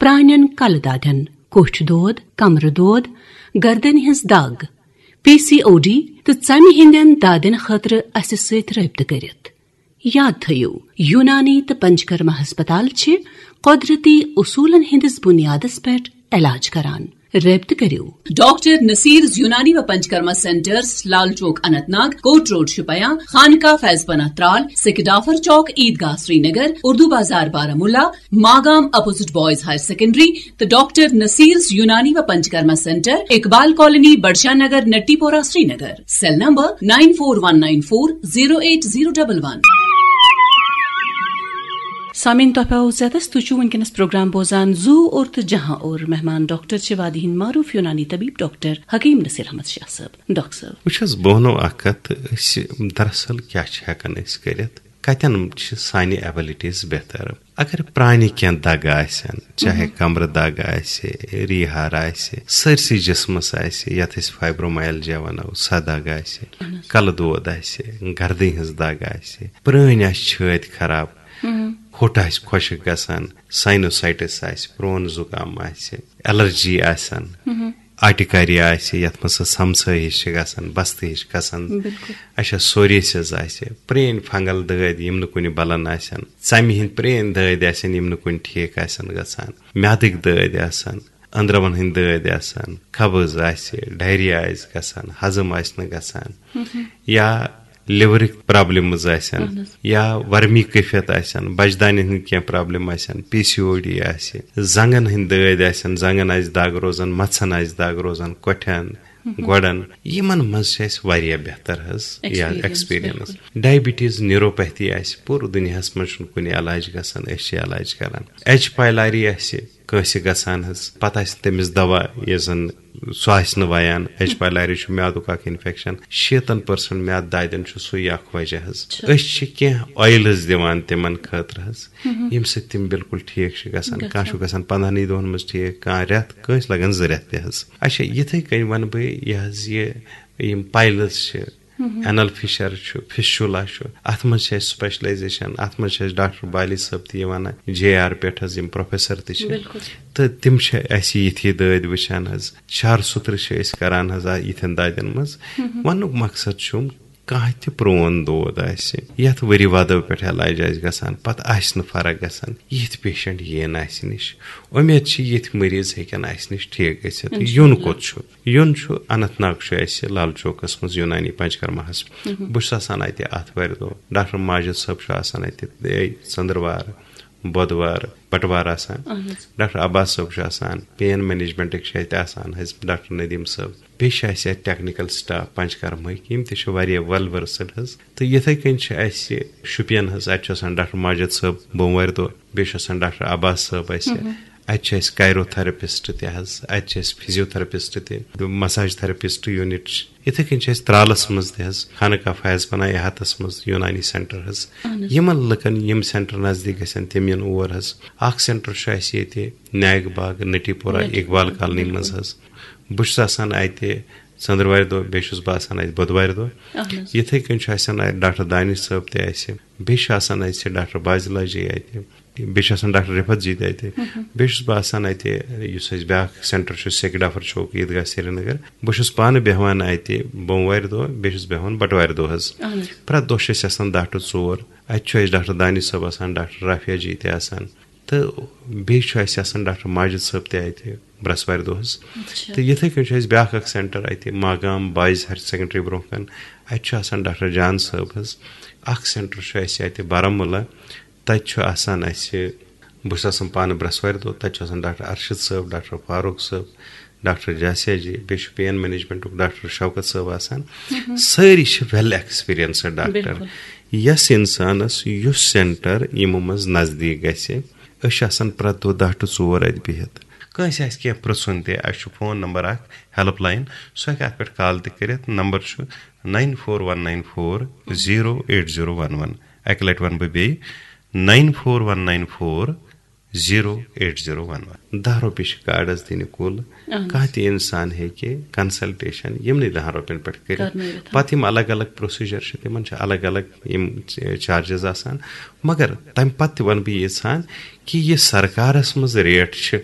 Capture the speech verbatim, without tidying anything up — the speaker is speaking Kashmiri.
پرانٮ۪ن کلہٕ دادٮ۪ن، کوٹھۍ دود، کمرٕ دود، گردنہِ ہٕنٛز دگ، پی سی او ڈی تہٕ ژمہِ ہٕنٛدٮ۪ن دادٮ۪ن خٲطرٕ اسہِ سۭتۍ رٲبطہٕ کٔرِتھ۔ یاد تھٲیِو، یونانی تہٕ پنچکرما ہسپتال چھِ قۄدرتی اصوٗلن ہٕنٛدِس بُنیادس پٮ۪ٹھ علاج کران۔ رٲبطہٕ کٔرِو۔ ڈاکٹر نصیرز یونانی و Panchakarma centres, Lal Chowk Anant Nag, Kot road Shopian, Khanqah Faiz Panah Tral, Sikh Dafar Chowk, Idgah Srinagar, Urdu Bazaar Baramulla, Magam opposite boys higher secondary, تہٕ ڈاکٹر نصیرز یونانی و Panchakarma centre, Iqbal colony, Budshah Nagar, Natipora, Srinagar. Cell number nine four one nine four zero eight zero double one. سامعین، تۄہہِ پٮ۪وو زیادس، تُہۍ چھِو وٕنکیٚنَس پروگرام بوزان زو اور تہٕ جہاں اور۔ مہمان ڈاکٹر چھِ وادی ہٕنٛدۍ معروٗف یونانی طبیب ڈاکٹر حکیم نصیر احمد شاہ صٲب۔ ڈاکٹر صٲب۔ وٕچھ حظ، بہٕ وَنو اَکھ کَتھ، أسۍ دراصل کیٛاہ چھِ ہٮ۪کان أسۍ کٔرِتھ، کَتٮ۪ن چھِ سانہِ abilities بہتر۔ اگر پرٛانہِ کینٛہہ دَگہٕ آسن، چاہے کمرٕ دَگ آسہِ، ریٖہار آسہِ، سٲرسٕے جسمس آسہِ، یَتھ أسۍ fibromyalgia وَنو، سۄ دَگ آسہِ، اہن حظ۔ کَلہٕ دود آسہِ، گردٕنۍ ہٕنٛز دَگ آسہِ، پرٛٲنۍ آسہِ چھٲتۍ خراب، ہوٚٹ آسہِ خۄشک گژھان، ساینوسائٹس آسہِ، پرون زُکام آسہِ، الرجی آسن، آٹِکاری آسہِ، یتھ منٛز سۄ سمسٲے ہِش چھِ گژھان، بستہٕ ہِش گژھان۔ بالکل۔ اچھا، سوریسز آسہِ، پرٛٲنۍ فنگل دٲدۍ یِم نہٕ کُنہِ بلان آسن، ژمہِ ہٕنٛدۍ پرٛٲنۍ دٲدۍ آسن یِم نہٕ کُنہِ ٹھیک آسن گژھان، میادٕکۍ دٲدۍ آسن، أنٛدرمن ہٕنٛدۍ دٲدۍ آسن، قبض آسہِ، ڈائریا آسہِ گژھان، ہضم آسہِ نہٕ گژھان، یا liverٕکۍ problems آسن، اہن حظ۔ یا ورمی کیفیت آسن، بچدانٮ۪ن ہٕنٛدۍ کینٛہہ problem آسن، پی سی او ڈی آسہِ، زنٛگن ہٕنٛدۍ دٲدۍ آسن، زنٛگن آسہِ دگ روزان، مژھن آسہِ دگ روزان، کۄٹھٮ۪ن، گۄڈن، یِمن منٛز چھِ اَسہِ واریاہ بہتر حظ یا experience، experience۔ بالکل۔ Diabetes neuropathy آسہِ، پوٗرٕ دُنیاہس منٛز چھُنہٕ کُنہِ علاج گژھان، أسۍ چھِ علاج کران۔ ایچ پایلاری آسہِ کٲنٛسہِ گژھان حظ، پتہٕ آسہِ تٔمِس دوا، یُس زن سُہ آسہِ نہٕ ویان۔ ایچ پایلاری چھُ میادُک اکھ infection، شیٖتن percent میادٕ دادٮ۪ن چھُ سُے اکھ وجہ حظ۔ چھُ۔ أسۍ چھِ کینٛہہ oils دِوان تِمن خٲطرٕ حظ، ییٚمہِ سۭتۍ تِم بالکل ٹھیٖک چھِ گژھان۔ گژھان۔ کانٛہہ چھُ گژھان پنٛدہنٕے دۄہن منٛز ٹھیٖک، کانٛہہ رٮ۪تھ، کٲنٛسہِ لگان زٕ رٮ۪تھ تہِ حظ۔ اچھا، یِتھے کٔنۍ ونہٕ بہٕ یہِ حظ، یہِ یِم piles چھِ، اینل فشر چھُ، فسچولا چھُ، اتھ منٛز چھِ اَسہِ specialization، اتھ منٛز چھِ اَسہِ ڈاکٹر بالی صٲب تہِ یِوان، جے آر پٮ۪ٹھ حظ یِم professor تہِ چھِ۔ بالکل۔ تہٕ تِم چھِ اَسہِ یِتھی دٲدۍ وٕچھان حظ، شار سُترٕ چھِ أسۍ کران حظ آ یِتھٮ۪ن دادٮ۪ن منٛز۔ وننُک مقصد چھُم، کانٛہہ تہِ پرون دود آسہِ، یتھ ؤری وادو پٮ۪ٹھ علاج آسہِ گژھان، پتہٕ آسہِ نہٕ فرق گژھان، یِتھۍ patient یِن اَسہِ نِش۔ اُمید چھِ یِتھۍ مریض ہیٚکن اَسہِ نِش ٹھیک گٔژھِتھ۔ انشاءاللہ۔ یُن کوٚت چھُ؟ یُن چھُ، اننت ناگ چھُ اَسہِ لال چوکس منٛز یونانی پنچکرماہس۔ بہٕ چھُس آسان اَتہِ آتھوارِ دۄہ، ڈاکٹر ماجد صٲب چھُ آسان اَتہِ، اے، ژٔنٛدٕروار، بۄدوار، بٹوار آسان۔ اہن حظ۔ ڈاکٹر عباس صٲب چھُ آسان، pain managementٕکۍ چھِ اَتہِ آسان حظ ڈاکٹر ندیم صٲب۔ بیٚیہِ چھِ اَسہِ اَتہِ technical staff پنچکرمٕکۍ، یِم تہِ چھِ واریاہ well versed حظ۔ تہٕ یِتھَے کٔنۍ چھِ اَسہِ شُپین حظ، اَتہِ چھُ آسان ڈاکٹر ماجد صٲب بوموارِ دۄہ، بیٚیہِ چھُ آسان ڈاکٹر عباس صٲب اَسہِ۔ اَتہِ چھِ اَسہِ کایروتھراپسٹ تہِ حظ، اَتہِ چھِ اَسہِ فزیوتھراپسٹ تہِ، مساج تھراپسٹ یوٗنٹ چھِ۔ یِتھَے کٔنۍ چھِ اَسہِ ترٛالَس منٛز تہِ حظ، خانقاہ فیض پناہ احاتَس منٛز یوٗنانی سینٹر حظ۔ اہن حظ۔ یِمَن لُکَن یِم سینٹر نزدیٖک گژھن، تِم یِن اور حظ۔ اَکھ سینٹر چھُ اَسہِ ییٚتہِ نیک باغ، نٹی پورہ، نٹی اقبال پورہ، کالنی بالکل۔ منٛز حظ۔ بہٕ چھُس آسان اَتہِ ژٔنٛدٕروارِ دۄہ، بیٚیہِ چھُس بہٕ آسان اَتہِ بۄدوارِ دۄہ۔ اہن حظ۔ یِتھَے کٔنۍ چھُ آسان اَتہِ ڈاکٹر دانش صٲب تہِ اَسہِ، بیٚیہِ چھُ آسان اَسہِ ڈاکٹر بازلا جی اَتہِ، بیٚیہِ چھُ آسان ڈاکٹر رفعت جی تہِ اَتہِ۔ بیٚیہِ چھُس بہٕ آسان اَتہِ، یُس اَسہِ بیٛاکھ سینٹر چھُ، سیک ڈافر چوک، عیدگاہ سرینگر۔ بہٕ چھُس پانہٕ بیٚہوان اَتہِ بوموارِ دۄہ، بیٚیہِ چھُس بیٚہوان بٹوارِ دۄہ حظ۔ اہن حظ۔ پرٛٮ۪تھ دۄہ چھِ أسۍ آسان دَہ to ژور۔ اَتہِ چھُ اَسہِ ڈاکٹر دانش صٲب آسان، ڈاکٹر رافیہ جی تہِ آسان۔ تہٕ بیٚیہِ چھُ اَسہِ آسان ڈاکٹر ماجد صٲب تہِ اَتہِ برٛٮ۪سوارِ دۄہ حظ۔ اچھا۔ تہٕ یِتھَے کٔنۍ چھُ اَسہِ بیٛاکھ اَکھ سینٹر اَتہِ ماگام بوائز ہایر سیکنڈری برٛونٛہہ کَنہِ۔ اَتہِ چھُ آسان ڈاکٹر جان صٲب حظ۔ اَکھ سینٹر چھُ اَسہِ اَتہِ بارہمولہ۔ تَتہِ چھُ آسان اَسہِ، بہٕ چھُس آسان پانہٕ برٛٮ۪سوارِ دۄہ، تَتہِ چھُ آسان ڈاکٹر ارشد صٲب، ڈاکٹر فاروق صٲب، ڈاکٹر جاسیا جی، بیٚیہِ چھُ پین مینجمنٹُک ڈاکٹر شوکت صٲب آسان۔ سٲری چھِ well experienced ڈاکٹر۔ بِلکُل۔ یَس اِنسانَس یُس سینٹر یِمو منٛز نزدیٖک گژھِ، أسۍ چھِ آسان پرٛٮ۪تھ دۄہ دَہ to ژور اَتہِ بِہِتھ۔ کٲنٛسہِ آسہِ کینٛہہ پرٛژھُن تہِ، اَسہِ چھُ فون نمبر اَکھ، ہیلپ لائن، سُہ ہیٚکہِ اَتھ پٮ۪ٹھ کال تہِ کٔرِتھ۔ نمبر چھُ nine four one nine four zero eight zero one one۔ اَکہِ لَٹہِ وَنہٕ بہٕ بیٚیہِ، nine four one nine four zero eight zero one one۔ دَہ رۄپیہِ چھِ کارڈس دِنہِ کُل۔ اہن حظ۔ کانٛہہ تہِ اِنسان ہیٚکہِ کنسلٹیشن یِمنٕے دَہن رۄپین پٮ۪ٹھ کٔرِتھ۔ کرنٲوِتھ۔ پتہٕ یِم الگ الگ پروسیجر چھِ، تِمن چھِ الگ الگ یِم چارجز آسان۔ مگر تمہِ پتہٕ تہِ ونہٕ بہٕ ییٖژہن کہِ یہِ سرکارس منٛز ریٹ چھِ،